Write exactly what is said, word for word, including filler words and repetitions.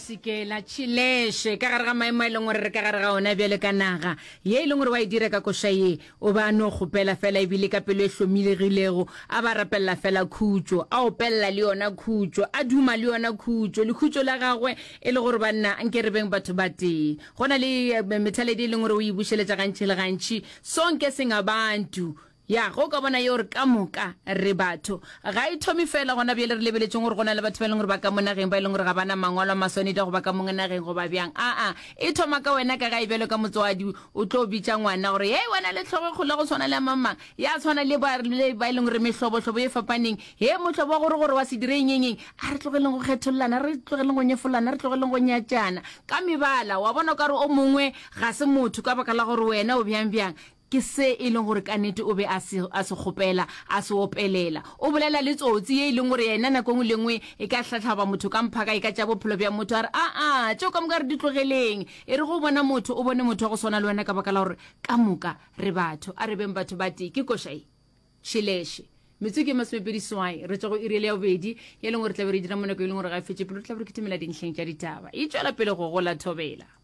Mpsikela Tšhileše ka gare ga maemo a e leng gore re ka gare ga ona bjale ka naga ye e leng gore wa e dira ka koša ye o ba a no kgopela fela ebile ka pelo e hlomilegilego a ba rapelela fela khutšo a opelela le yona khutšo a duma le yona khutšo lekhutšo la gagwe e le gore banna nke re beng batho ba tee go na le eh, methaledi e leng gore o e bušeletša gantši le gantši sonke singabantu ya go ka bona ye gore ka moka re batho ga e thome fela gona bjale re lebeletšeng gore go na le batho ba e leng gore ba ka mo nageng ba e leng gore ga bana mangwalo a maswanedi a go ba ka mo nageng goba bjang aa e thoma ka wena ka gae bjalo ka motswadi o tlo bitša ngwana gore hei wena le tlhogo e kgolo go tshwana le ya mamang ya tshwana le ba le ba e leng gore mehlobohlobo e fapaneng he mohlobo wa gore gore wa se dire eng eng eng a re tlogeleng go kgethollana re tlogeleng go nyefolana re tlogeleng go nyatšana ka mebala wa bona o ka re o mongwe ga se motho ka baka la gore wena o bjang bjang ke se e leng gore ka nnete o be a se a se kgopela a se opelela o bolela le tsotsi ye e leng gore yena nako engwe le engwe e ka hlatlhaba motho ka mphaka e ka tša bophelo bja motho a re aa tšeo ka moka re di tlogeleng e re go bona motho o bone motho wa go swana le wena ka baka la gore ka moka re batho a re beng batho ba tee ke koša e Tšhileše metsotso ke masomepedi swai re tšwa go iri ya bobedi ye leng gore tla be re dira mo nako e leng gore ga e fetše pele re tla be re kitimela dintlheng tša ditaba e tšwela pele go gola thobela.